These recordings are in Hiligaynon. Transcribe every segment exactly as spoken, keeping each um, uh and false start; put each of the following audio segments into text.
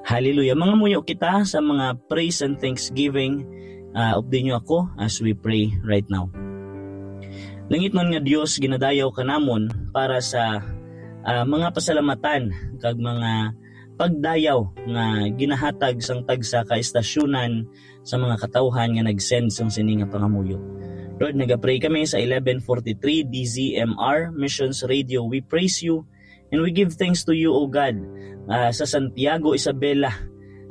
Hallelujah. Mangamuyo kita sa mga praise and thanksgiving. Uh, update niyo ako as we pray right now. Langitnon nga Dios, ginadayaw ka namon para sa uh, mga pasalamatan kag mga pagdayaw nga ginahatag sang tagsa ka estasyunan sa mga katawhan nga nag-send sang sini nga pangamuyo. Lord, nagapray kami sa eleven forty-three D Z M R Missions Radio. We praise you and we give thanks to you, O God. Ah, sa Santiago, Isabela,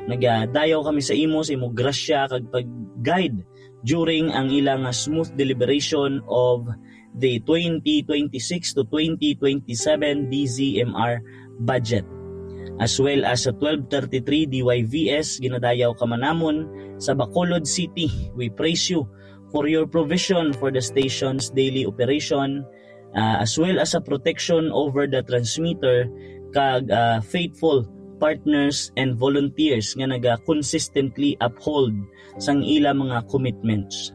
nagadayaw kami sa imo, sa imo grasya kag pag-guide during ang ilang smooth deliberation of the twenty twenty-six to twenty twenty-seven D Z M R budget. As well as sa twelve thirty-three D Y V S, ginadayaw ka man namon sa Bacolod City. We praise you for your provision for the station's daily operation, uh, as well as sa protection over the transmitter kag uh, faithful partners and volunteers nga naga consistently uphold sang ila mga commitments.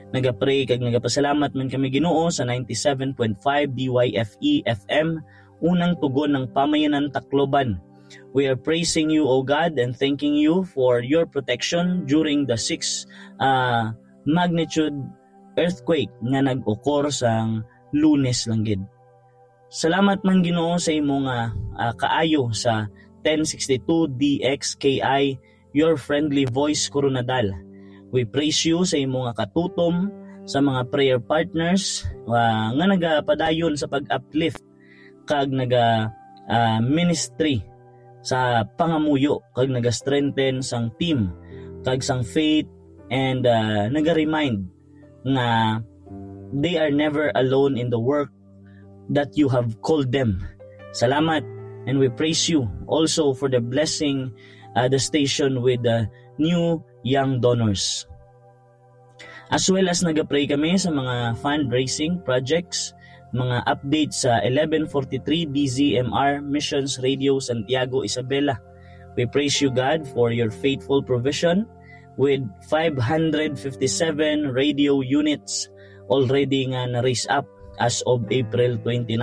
Nagapray kag nagapasalamat man kami, Ginoo, sa ninety-seven point five D Y F E F M, unang tugon ng Pamayanan Tacloban. We are praising you, O God, and thanking you for your protection during the six uh, magnitude earthquake nga nag-occur sang Lunes lang gid. Salamat man, Ginoo, sa imo nga uh, kaayo sa ten sixty-two D X K I, Your Friendly Voice Coronadal. We praise you sa imo nga katutom sa mga prayer partners uh, nga nagapadayon sa pag-uplift kag naga uh, ministry sa pangamuyo kag naga-strengthen sang team kag sang faith, and uh, naga-remind nga they are never alone in the work that you have called them. Salamat, and we praise you also for the blessing uh, the station with the new young donors. As well as nagapray kami sa mga fundraising projects, mga updates sa eleven forty-three D Z M R Missions Radio Santiago, Isabela. We praise you, God, for your faithful provision with five hundred fifty-seven radio units already nga na-raise up as of April twenty-nine.